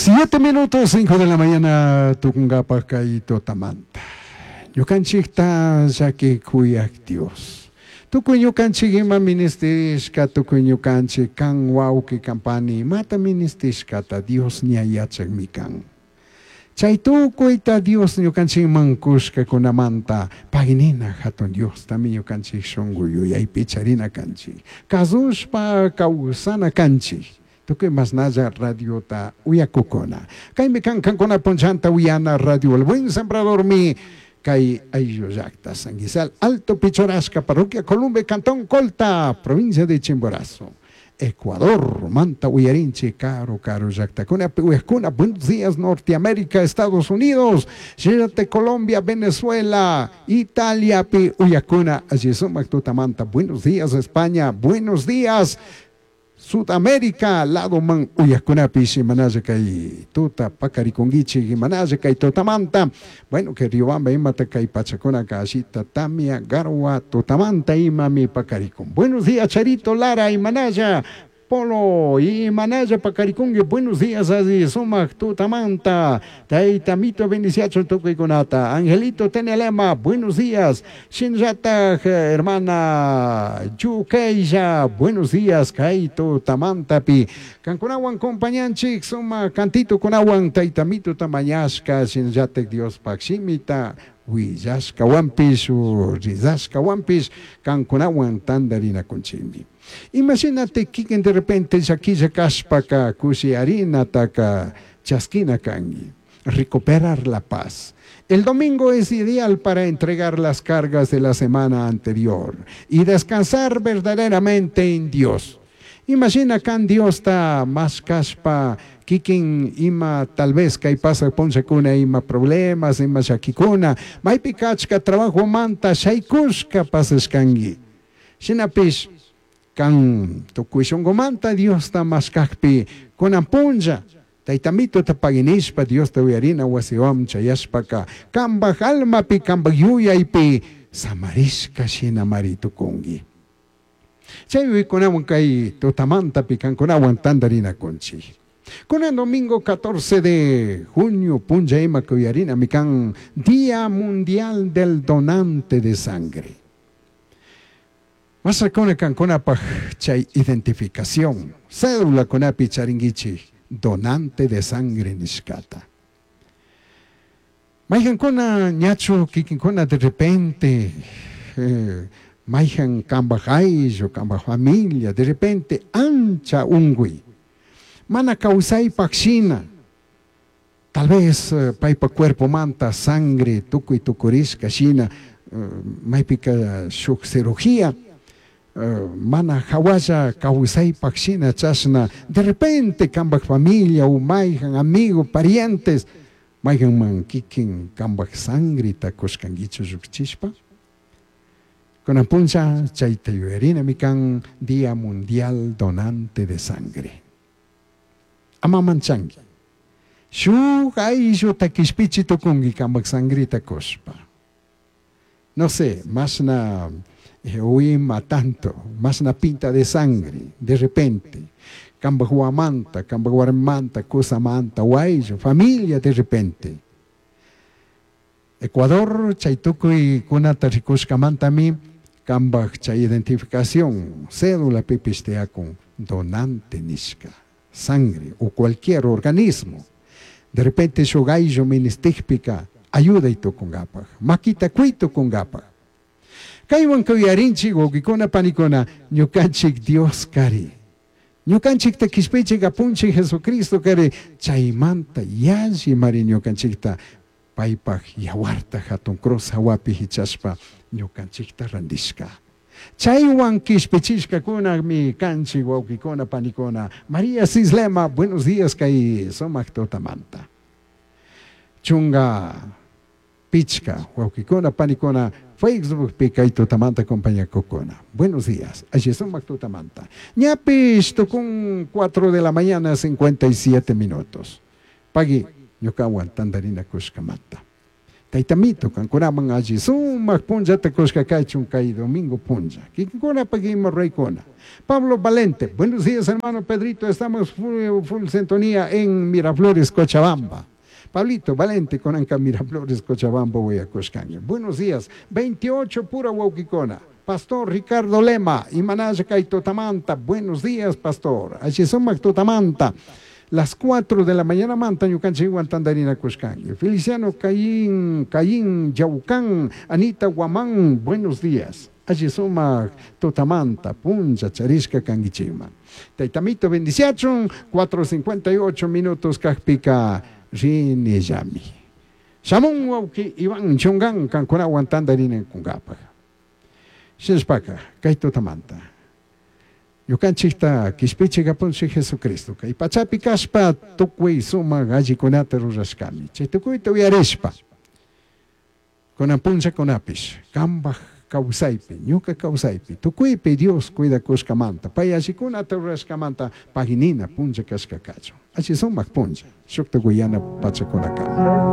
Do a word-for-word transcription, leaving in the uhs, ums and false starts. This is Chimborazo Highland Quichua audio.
Siete minutos, cinco de la mañana, tukunkapaj kay tutamanta. Ñukanchikta llaki kuyak Dios. Tukuy ñukanchik ima ministishka, tukuy ñukanchik kan wawqi kan pani imata ministishkata Dios ña yachakmi kan. Chay tukuyta Dios ñukanchikman kushkakunamanta paynina hatun Diostami ñukanchik shunku yuyaypi charina kanchik. Kasushpa kawsana kanchik. Tukuy masnalla radiota uyakukuna. Kaymi kan kankuna punchanta uyana radio El Buen Sembradormi kay ayllu llakta Sanguizal, Alto Pichorasca, Parroquia Columbe, Cantón Colta, provincia de Chimborazo. Ecuador, manta uyarinchi, karu karu llaktakuna, uyakuna, buenos días Norteamérica, Estados Unidos, Chile, Colombia, Venezuela, Italia, pi uyakuna, allí sumak tutamanta, buenos días España, buenos días Sudamérica, lado man uyakunapish imanalla kay tuta pakarikunkichik imanalla kay tutamanta. Bueno, que Riobamba imata kay pachakuna kashita tamia garwa tutamanta imami pakarikun. Buenos días Charito Lara imanalla Polo imanalla pakarikunki. Buenos días así sumak tutamanta. Tayta mito bendiciacho tukuykunata. Angelito Tenelema, buenos días. Shinllataj hermana Yukeya, buenos días kay tutamantapi. Kankunawan compañanchik suma cantito kunawan tayta mito tamañashka shinllataj Dios pakshimita willashka wampish rizashka wampish kankunawan tandarinakunchikmi. Imagínate kikin de repente llakilla kashpaka kushi harinataka chaskina kanki, recuperar la paz. El domingo es ideal para entregar las cargas de la semana anterior y descansar verdaderamente en Dios. Imagina kan Dios ta más kashpa kikin ima tal vez kay pasa punchakuna ima problemas ima llakikuna maypi kachka trabajo manta shaykushka pasashkanki. Shinapish kan tukuy shunqumanta Diosta mashkakpi kunan punlla taytamito tapaginishpa Diosta uyarina wasiwan chayashpaka kambaj almapi kambaj yuyaypi samarishka shinamari tukunki. Chay uykunawan kay tutamantapi kankunawan tandarinakunchik. Kunan domingo catorce de junio punlla ima kuyarina mikan Día Mundial del Donante de Sangre. Masakuna kankunapaj chay identificación, cédula kunapi charinguichi, donante de sangre nishkata. Mayhankuna ñachu kikinkuna de repente, eh, mayhan kambaj ayllu, kambaj familia, de repente ancha ungui. Mana kawsaypaj shina, tal vez eh, paypa cuerpo manta sangre tukuy tukurishka shina, eh, maypika shuk cirugía, Uh, mana hawalla kawsaypaj shina chashna, de repente kambaj familia u mayhan amigo, parientes, mayhanman kikin kambaj sangrita kushkankichu llukchishpa. Kunan puncha chayta yuyarina mikan Día Mundial Donante de Sangre. Ama manchanki. Shuk aylluta kishpichi tukunki kambaj sangrita kushpa. No sé, mashna uima tanto, más una pinta de sangre, de repente, kambaj huamanta, kambaj warmanta, kusamanta, huayllo, familia de repente. Ecuador, chaytukuy kunata rikushkamantami, kambaj chay identificación, cédula pipistea con donante nishka, sangre o cualquier organismo. De repente shuk ayllu ministikpika, ayuda y tukunkapaj, makita kuy tukunkapaj. Kaywan kuyarinchik wawqikuna panikuna ñukanchik Dios kari. Ñukanchikta kishpichik apunchik Jesucristo kari chaymanta yalli mari ñukanchikta paypaj yawarta hatun cruz hawapi hichashpa ñukanchikta randishka. Chaywan kishpichishkakunami kanchik wawqikuna panikuna. María Cislema, buenos días kay sumak tutamanta. Chunga pichka wawqikuna panikuna Facebook kay tutamanta compañía kokuna. Buenos días. Allí sumak tutamanta. Ñapish tukun cuatro de la mañana cincuenta y siete minutos. Pagui ñukawan tandarina kushkamanta. Taytamito kankunaman alli sumak punllata kushka kachun kay domingo punlla. Kikinkunapaq ima ruraykuna. Pablo Valente, buenos días hermano Pedrito, estamos full, full sintonía en Miraflores, Cochabamba. Pablito Valente, kunanka Miraflores, Cochabamba uyakushkanki. Buenos días, veintiocho pura wawkikuna. Pastor Ricardo Lema, imanalla kay tutamanta. Buenos días, pastor. Alli sumak tutamanta. Las cuatro de la mañana manta ñukanchikwan tantarinakushkanki. Feliciano Caín, Caín Yaucán, Anita Guamán, buenos días. Alli sumak tutamanta, punlla charishka kankichikman. Taytamito bendiciachun, cuatro cincuenta y ocho minutos kajpika rinillami. Shamun wawki Iván Chungan kankunawan tantarinakunkapaj. Shinashpaka kay tutamanta. Ñukanchikta kishpichik apunchik Jesucristo kay pachapi kashpa tukuy sumak allikunata rurashkami. Chay tukuyta uyarishpa kunan punllakunapish kambaj kawsaypi, ñuka kawsaypi, tukuypi Dios cuidakushkamanta, pay allikunata rurashkamanta paginina punlla kashka kachun. Alli sumak punlla, shukta guyana pachakunakama.